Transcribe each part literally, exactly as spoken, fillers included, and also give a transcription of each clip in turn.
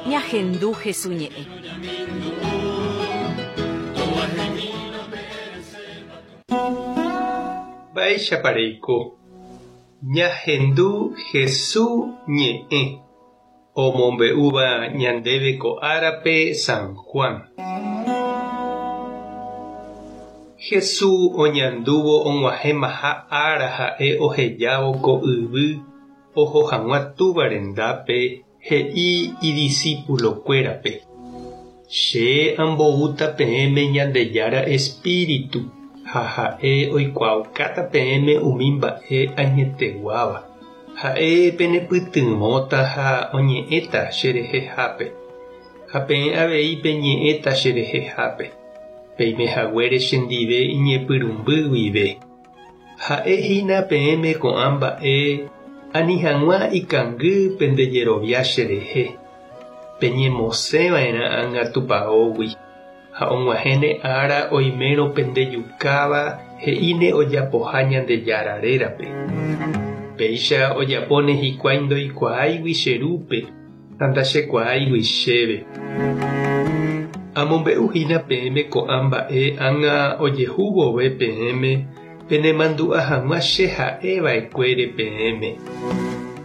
Ñahendu Hesu ñe'ẽ. Mba'éichapa reiko. Ñahendu Hesu ñe'ẽ omombe'úva ñandéve ko árape San Juan. Jesús oñandúvo og̃uahẽmaha ára ha'e ohejávo ko yvy oho hag̃ua túva rendápe he'i idiscípulokuérape. Che amboúta peẽme Ñandejára Espíritu ha ha'e oikuaaukáta peẽme umi mba'e añeteguáva. Ha'e penepytyvõta ha oñe'ẽta cherehehápe ha peẽ avei peñe'ẽta cherehehápe. Peimehaguére chendive iñepyrũmby guive. Ha'ehína peẽme ko'ã mba'e ani hag̃ua ikangy pendejerovia cherehe. Peñemosẽva'erã ág̃a tupãógui ha og̃uahẽne ára oimérõ pendejukáva he'íne ojapoha Ñandejára rérape. Péicha ojapóne hikuái ndoikuaáigui che rúpe ha ndachekuaáigui chéve. Amombe'uhína peẽme ko'ã mba'e ág̃a ojehu vove peẽme penemandu'a hag̃ua che ha'eva'ekuére peẽme.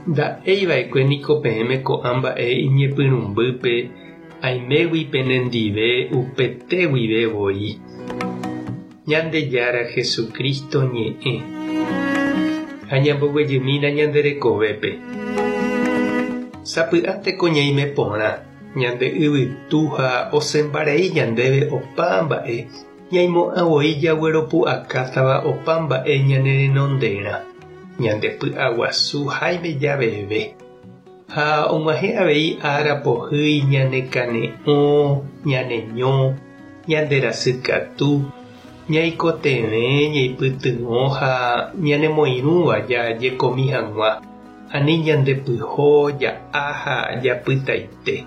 Nda'eiva'ekue niko peẽme ko'ã mba'e iñepyrũmbýpe aimégui penendive upete guive voi. Ñandejára Jesucristo ñe'ẽ. Ha ñamboguejymína ñande rekovépe. Sapy'ánteko ñaime porã, ñande yvytu ha osẽmbarei ñandéve opa mba'e ñaimo'ã voi jagueropu'akátava opa mba'e ñane renonderã, ñande py'aguasu háime javeve. Ha og̃uahẽ avei ára pohýi ñanekane'õ, ñaneño, ñanderasykatu, ñaikotevẽ ñaipytyvõ ha ñanemoirũva jajekomi hag̃ua, ani ñandepyho ja'a ha japytaite.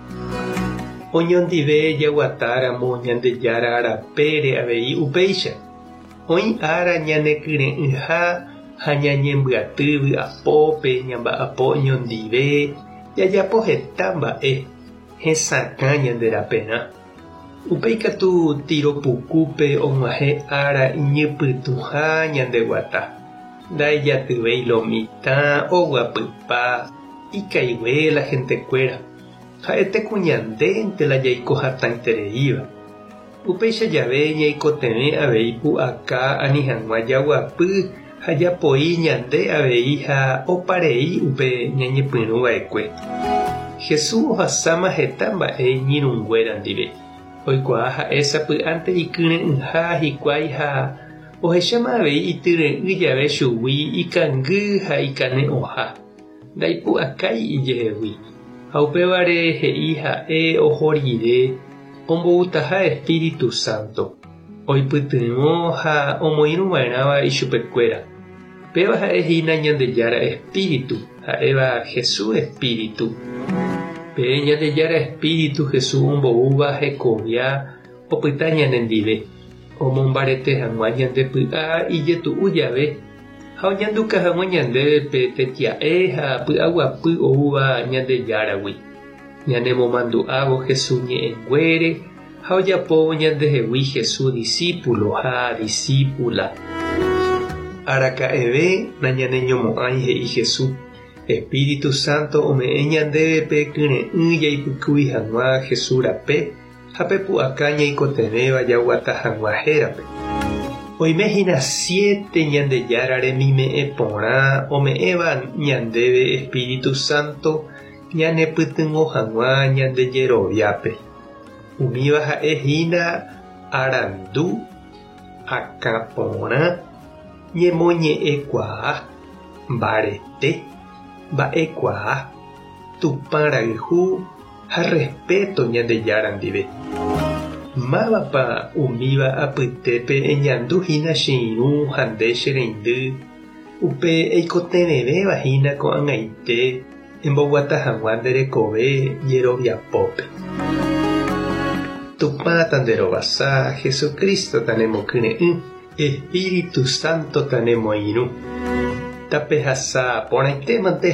Oñondive jaguatáramo Ñandejára rapére avei upéicha. Oĩ ára ñanekyre'ỹha ha ñañembyaty vy'apópe ñamba'apo oñondive jajapo heta mba'e hesakã ñande raperã. Upéi katu tiropukúpe og̃uahẽ ára iñypytũha ñandeguata. Ndaijatyvéi lo mitã oguapypa ikaigue la gentekuéra. Ha'ete ku ñandénte la jaiko hatãitereíva. Upéicha jave ñaikotevẽ avei pu'aka ani hag̃ua jaguapy ha japoi ñande avei ha oparei upe ñañepyrũva'ekue. Jesús ohasáma heta mba'e iñirũnguéra ndive. Oikuaa ha'e sapy'ánte ikyre'ỹha hikuái ha ohecháma avei ityre'ỹ jave chugui ikangy ha ikane'õha. Ndaipu'akái ijehegui. Ha upévare he'i ha'e oho rire omboutaha Espíritu Santo. Oipytyvõ ha omoirũva'erãva ichupekuéra. Péva ha'ehína Ñandejára Espíritu, ha'éva Jesús Espíritu. Pe Ñandejára Espíritu Jesús omboúva hekovia opyta ñanendive. Omombarete hag̃ua ñande py'a ijetu'u jave ha oñanduka hag̃ua ñandéve pe tetia'e ha py'aguapy oúva Ñandejáragui. Ñanemomandu'ávo Jesús ñe'ẽnguére ha ojapóvo ñandehegui Jesús discípulo ha discípula. Araka'eve nañaneñomo'ãi he'i Jesús. Espíritu Santo ome'ẽ ñandéve pe kyre'ỹ jaipykúi hag̃ua Jesús rape ha pe pu'aka ñaikotevẽva jaguata hag̃ua hérape. Oimehína siete Ñandejára remime'ẽ porã ome'ẽva ñandéve Espíritu Santo ñanepytyvõ hag̃ua ñandejeroviápe. Umíva ha'ehína arandu, akãporã, ñemoñe'ẽkuaa, mbarete, mba'ekuaa, Tupã rayhu ha respeto Ñandejára ndive. Mávapa umíva apytépe eñanduhína che irũ ha nde che reindy upe eikotevẽvévahína ko'ag̃aite emboguata hag̃ua nde rekove jeroviapópe. Tupã tanderovasa, Jesucristo tanemokyre'ỹ, Espíritu Santo tanemoirũ. Tapehasa porãitémante.